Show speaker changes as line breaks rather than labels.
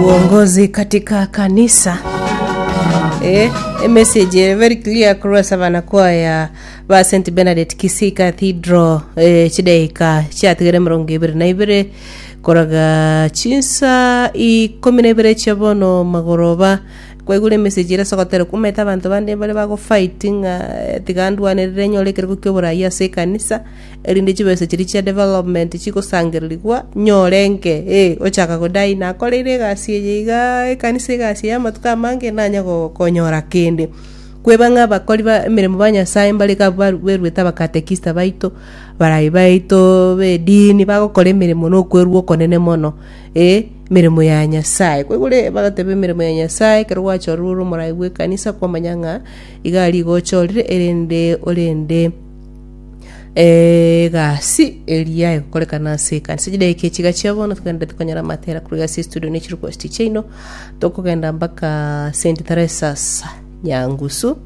Uongozi katika kanisa. Eh, emessage ere very clear korwa ase abanakwaya ba St Bernadette Kisii Cathedral eh, chidaika chiatigere emerongo ebere na ibere koraga chinsa ikomi na ibere chia bono magoroba kwaigure emessage ere ase ogotera omanyete abanto bande mbare bagofight ng'a eh, tiga ndwanerere nyore ekerogo kia oborai ase ekanisa Erinde chibesa chiria chia development chigosangererigwa, nyore nke, eh, ochaka godai nakoreire egasi eye igaa ekanisa egasi eye amatuko amange nanye go konyora kende. Kweba ng'a abakori ba emeremo ba Nyasaye mbare iga baru beruete abakatekista baito, barai baito ba edini bagokora emeremo na okwerwa okonene mono, eh, emeremo ya Nyasaye. Kwaigure bagoteba emeremo ya Nyasaye ekero gwachorirwe ore omorai bwa ekanisa kwamanya ng'a iga aria igo ochorire erinde orende. Egasi eria egokorekana ase ekanisa. Chidaeka echi iga chia bono togenderete konyora amatera korwa ase estudio ne chirequest chiaino, tokogenda mpaka St. Theresa's Nyangusu.